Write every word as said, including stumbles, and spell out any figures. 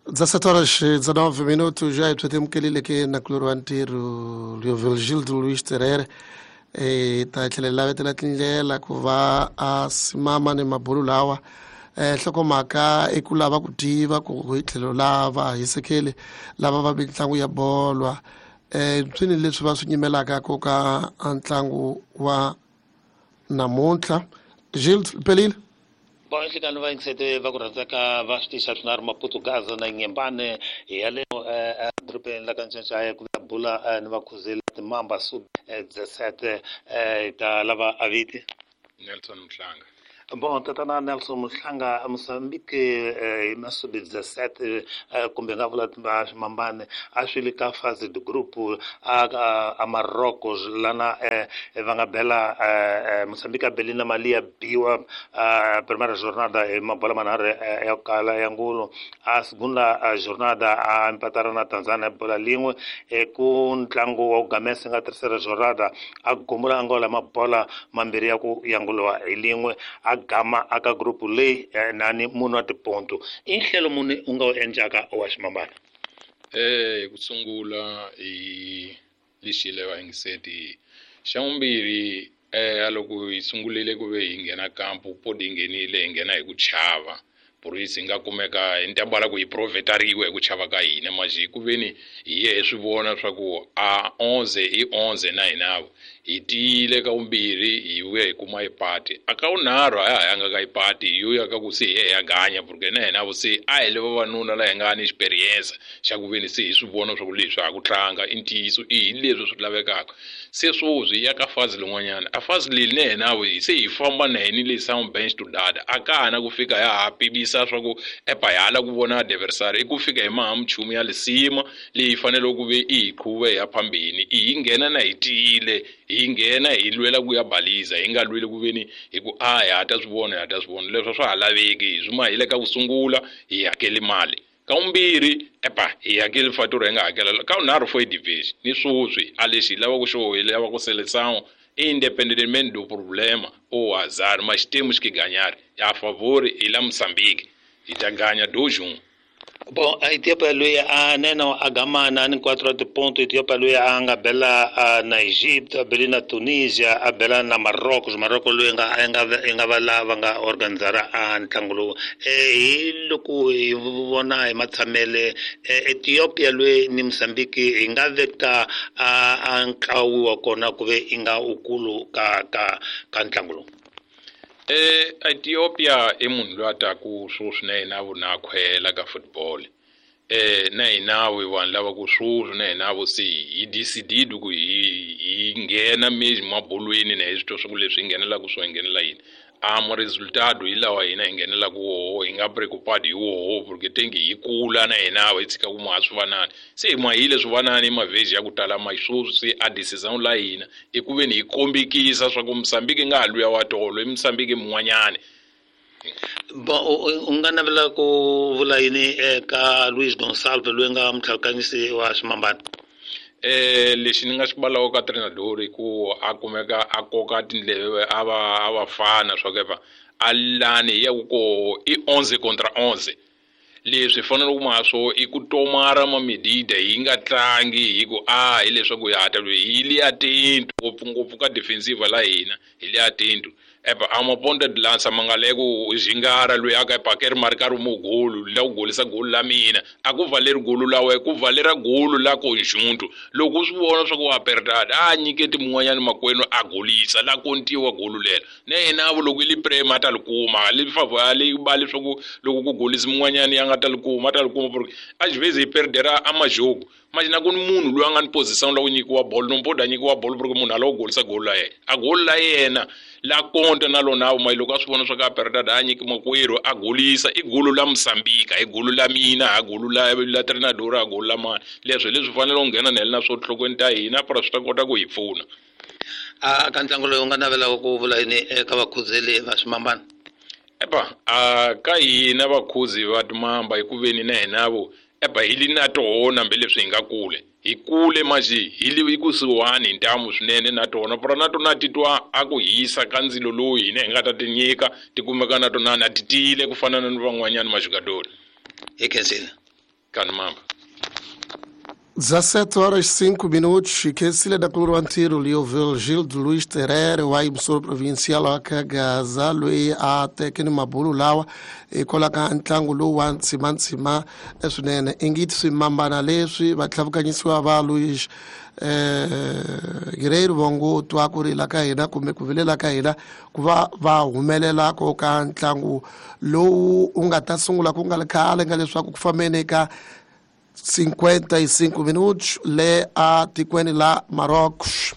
dezassete horas e dezanove minutos, já temukelile ke nakulori wa ntirho Leovigildo Luiz Terere e ta tlhela lavetela tindlela ku va a simama ni mabulu lawa eh hlokomhaka i ku lava ku tiva ku hi tlhelo lava hisekele lava va mitlangu ya bolwa eh swini leswi va swi nyimelaka ku ka ntlangu wa namuntlha. Gilles Pelile. Bom, nhlikani va yingisete va ku rhandzaka va swi tisa swinharhu Maputo Gaza na Nyembane hi ya le edorobeni la ka Ncancaya ku ya bula ni vakhuzeli timamba sub dezessete ta lava aviti Nelson Mhlanga. Bom, tatana Nelson Mhlanga, Mozambique hi masubi dezessete kumbe nga vula swimambane a swi le ka fase de groupe a a Marocos lana va nga bela Mozambique a beli na mali ya biwa primeira jornada hi mabola manharhu ya kala ya ngulo a segunda jornada a empatara na Tanzania bola lin'we ku ntlangu wa ku gamesa nga terceira jornada a gumula Angola mabola mambirhi ya ku yanguliwa hi lin'we a gama aka group leyi nani munhu wa tiponto i nhlelo muni u nga wu endlaka wa ximambana. Eh ku sungula hi lexi le va yingiseti xa vumbirhi eh loko hi sungulile ku ve hi nghena kampu podi hi nghenile hi nghena hi ku chava purisi hi nga kumeka hi ntambala ku hi provetariwe hi ku chava ka hina maji ku veni hi ye hi swi vona swa ku a onze i onze na hinavo hi tiyile ka vumbirhi hi vuya hi kuma ipati a ka vunharhu a ya ha yanga ka ipati hi yo ya ka ku se hi ye hi ya ganya porque na hina se a hi le vavanuna la hi nga ni experience xa ku veni se hi swi vona swa ku leswi ha ku tlanga i ntiyiso i hi leswi swi lavekaka se swoswi ya ka fazi lin'wanyana a fazi leyi na hina se hi famba na hini le sound bench to data a ka ha na ku fika ya ha pimisa swa ku epa hi hala ku vona adversary i ku fika hi maha minchumu ya lisima leyi fanele ku ve i hi qhuve hi ya phambeni i hi nghena na hi tiyile hi nghena hi lwela ku ya baliza hi nga lweli ku veni hi ku a hi ha ta swi vona hi ha ta swi vona leswi swa ha laveki hi swi ma hi le ka ku sungula hi hakeli mali ka vumbirhi epa hi hakeli fatura hi nga hakela ka vunharhu for division ni swoswi a lexi hi lava ku xo hi lava ku seleção independentemente do problema ou azar mas temos que ganhar a favor e lá Moçambique e ta ganha dois um. Bom, a Etiópia loyi a nena a gamana ni quatro de ponto Etiópia loyi a nga bela na Egipto, a bele na Tunisia, a bela na Marrocos, Marrocos loyi nga nga nga va lava nga organizara a ntlangu lowu hi loko hi vona hi matshamele Ethiopia loyi ni Mozambique hi nga veka a ntlawu wa kona ku ve i nga ukulu ka ka ka ntlangu lowu. Eh Ethiopia i munhu loyi a taku swoswi na yena vona khwela ka football eh na hina we vanhu lava ku swoswi na hina vo se hi decide ku hi hi nghena mesmo mabolweni na hi swi twa swa ku leswi hi nghenelaka swo hi nghenela yini a mo resultado hi lawa hina hi nghenelaka woho hi nga preocupado hi woho porque tengi hi kula na hina hi tshika ku ma swi vanani se hi mahile swi vanani mavheji ya ku tala ma swoswi se a decision la hina i ku veni hi kombekisa swa ku Mozambique nga ha luya wa tolo i Mozambique mun'wanyana. Bon, u nga navela ku vula yini eka Luis Gonçalves loyi nga mutlhakanyisi wa ximambana? Eh lexi ni nga xi balaka ka treinador i ku a kumeka a koka tindleve a va a va fana swa ku epa a lani ya ku ko i onze contra onze leswi fanele ku ma swo i ku tomara ma medida hi nga tlangi hi ku a hi leswaku hi hata loyi hi le atento ngopfungopfu ka defensive la hina hi le atento epa a ma ponta de lança ma nga le ku zingara loyi a ka epa ke ri mari ka ri mo golo la ku golisa golo la mina a ku valeri golo la we ku valera golo la conjunto loko u swi vona swa ku wa perdada a nyiketi mun'wanyana makwenu a golisa la kontiwa golo lelo na yena vo loko i li prema a ta li kuma li favor a li ba leswaku loko ku golisa mun'wanyana ya nga ta li kuma a ta li kuma porque às vezes hi perdera a majogo mas na ku ni munhu loyi a nga ni position la ku nyikiwa bolo no mpoda nyikiwa bolo porque munhu a lava ku golisa golo la yena a golo la yena la konta na lona vo loko a swi vona swa ka perdada a nyiki makwerhu a golisa i golo la Mozambique i golo la mina a golo la la treinador a golo la mani leswi leswi fanele ku nghena na na swo nhlokweni ta hina para swi ta kota ku hi pfuna. A ka ntlangu lowu u nga navelaka ku vula yini eka vakhuzeli va swimambana? Epa a ka hina vakhuzi va timamba hi ku veni na hina vo epa hi li na tona hambi leswi hi nga kule hi kule maji hi li kusuhani hi ntamu swinene na tona para na tona titwa a ku hisa ka ndzilo lowu hina hi nga ta ti nyika ti kumeka na tona na ti tiyile ku fana na van'wanyana majugadori. Hi khensile. Kanimamba. dezassete horas e cinco minutos, que sile da kuluru wa ntirho Leoville Gildo Luiz Terere wa yimisoro provincial wa Kagaza loyi a teke ni mabulu lawa hikwalaho ka ntlangu lowu wa ntsimantsima swinene ingiti swimambana leswi va tlhavukanyisiwa va Luiz eh Guerreiro va ngo twa ku rila ka hina kumbe ku vilela ka hina ku va va humelela ko ka ntlangu lowu u nga ta sungula ku nga ri khale nga leswaku ku fambeni ka cinquenta e cinco minutos le a tikweni la Marrocos.